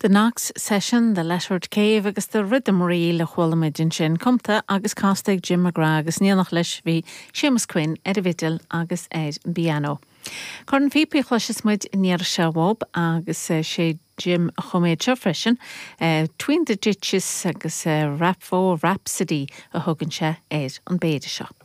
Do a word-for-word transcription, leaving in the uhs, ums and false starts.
The Knox Session, The Lettered Cave agus The Rhythm Reel a chuala muid ansin cumtha agus casta ag Jim McGrath agus in éineacht leis bhí Séamus Quinn ar an bhfidil agus ar an bpianó. Corn phíopaí a chloisfeas muid an iarraidh seo uaidh agus sé Jim a chum iad seo freisin, uh, Tween the Ditches agus uh, Rapho Rhapsody a thugann sé ar an bpéire seo.